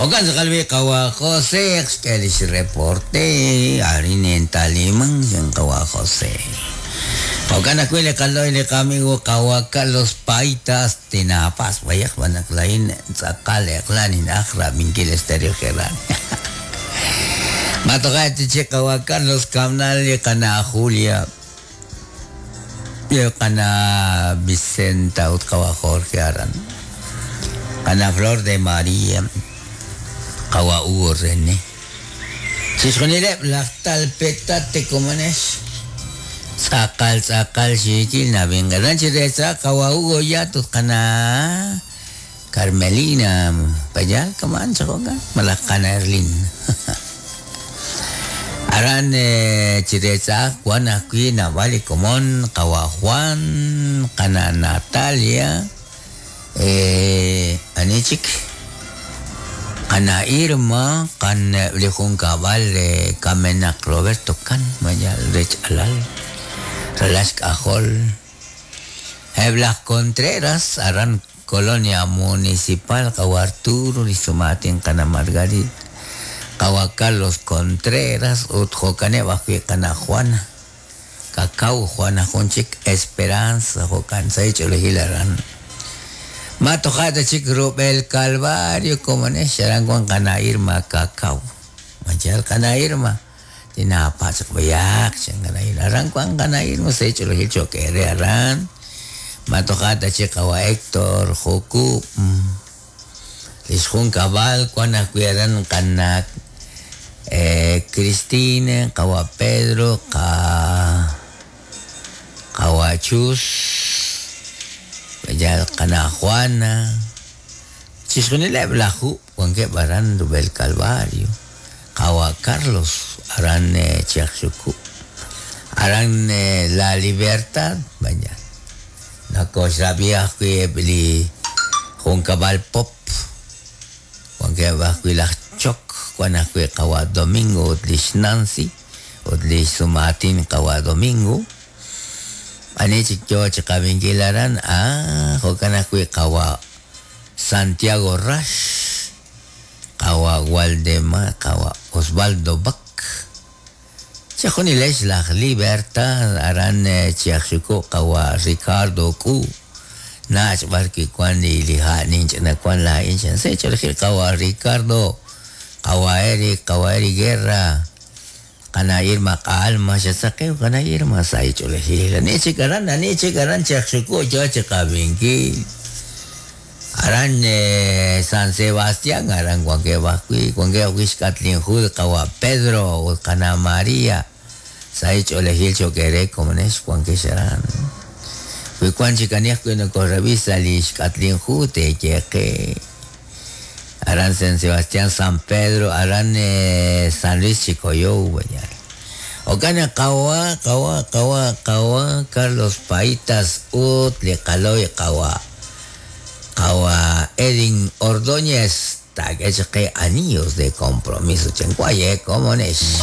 Jo'kan tz'aqal b'i' qawa' José xk'e lix reporte arin entaliman chan qawa' José. Jo'kan ajwi' li qalo'y li qamigo qawa' Carlos Paitas tinapas b'ayaq xb'aan naq laa'in tz'aqal eq'la nin'aj rab'inkil Estéreo Geral. Ma toja' ta chik qawa' Carlos Kamnal li qana' Julia li qana' Vicenta ut qawa' Jorge aran. Qana' Flor de María, qawa' Hugo René. Chixjunileb' laj Talpetate komonex. Tz'aqal tz'aqal xiikil nab'inqeran chi reetz'aq qawa' Hugo Yat ut qana' Carmelina payal kaman chi jo'kan malaj qana' Erlin. Aran chi reetz'aq wan ajwi' naab'al li komon qawa' Juan, qana' Natalia, ani chik qana' Irma, qan li junkab'al kamenaq Roberto Kan mayal rech alal, ralal xk'ajol. Eb' laj Contreras aran Colonia Municipal qawa' Arturo li xsumaatin qana' Margarita, qawa' Carlos Contreras ut jo'kaneb' ajwi' qana' Juana Cacao, Juana jun chik Esperanza jo'kan sa' ch'oolejil aran. Ma toja' ta chik rub'el Calvario komonex aran wan qana' Irma Cacao. Mayal qana' Irma tinapatz' b'ayaq chan qana' Irma. Aran wan qana' Irma sa' ch'oolejil cho'q eere aran. Ma toja' ta chik qawa' Héctor Jukub. Lix junkab'al wan ajwi' aran qana' Cristina, qawa' Pedro, qawa' Chus, mayal qana' Juana. Chixjunileb' laj Jub wankeb' aran rub'el Calvario. Qawa' Carlos aran Chiajxukub'. Aran La Libertad mayal. Nakoxrab'i ajwi' eb' li junkab'al Pop. Wankeb' ajwi' laj Chok, wan ajwi' qawa' Domingo ut lix Nancy ut lix sumaatin qawa' Domingo. Ani chik yoo chi qab'inkil aran, jo'kan ajwi' qawa' Santiago Rax, qawa' Waldemar, qawa' Osvaldo Bac. Chixjunilex laj Libertad aran Chiajxuku' qawa' Ricardo K'u. Nach' b'ar wi' wan li ha' ninch'ina wan laa'in chan sa' ch'oolejil qawa' Ricardo, qawa' Eric, qawa' Eric Guerra, qana' Irma Q'alma, xatzaqew qana' Irma sa' ch'oolejil. Ani chik aran, ani chik aran Chiajxuku' yoo chi qab'inkil. Aran San Sebastián, aran wankeb' ajwi', wankeb' ajwi' xk'atl Jud qawa' Pedro ut qana' María. Sa' ch'oolejil cho'q eere komonex wankex aran. Wi wan chik ani ajwi' nokorab'i sa' li xk'atl Jud teeyeqe. Aran San Sebastián, San Pedro, aran San Luis Chicoyou, mayal. Jo'kan naq qawa', qawa', qawa', qawa' Carlos Paitas ut li qalo'y qawa' qawa' Edin Ordóñez taak'e chaq qe Anillos de Compromiso chan waye komonex.